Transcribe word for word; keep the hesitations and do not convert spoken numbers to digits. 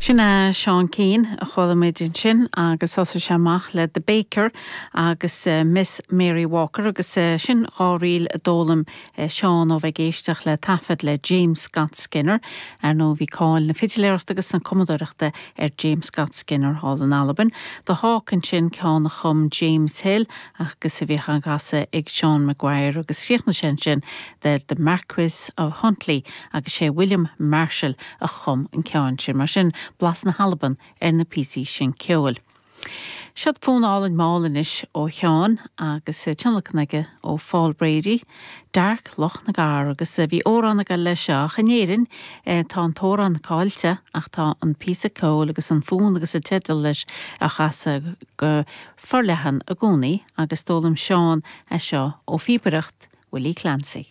Sin é Seán Keane a chuala muid ansin agus thosaigh sé amach le The Baker agus uh, Miss Mary Walker agus uh, sin dhá ríl a d'fhoghlaim uh, Seán ó bheith ag éisteacht le taifead le James Scott Skinner ar nó bhí cáil na fidiléireachta agus an cumadóireachta ar James Scott Skinner thall in Albain. The Hawk ansin ceann a chum James Hill agus a bhí á chasadh ag Sean Maguire agus chríochnaigh sé ansin de the Marquis of Huntly agus sé William Marshall a chum an ceann sin mar sin blas na hAlban ar na píosaí sin ceoil. Siod fonn álainn mall anois ó Sheán agus tionlacan aige ó Paul Brady, Dark Loch na gCarr agus bhí amhrán aige leis seo in Éirinn tá an t-amhrán caillte ach tá an píosa ceoil agus an fonn agus a teideal leis á chasadh go forleathan i gcónaí agus d'fhoghlaim Seán é seo ó phíobaireacht Willie Clancy.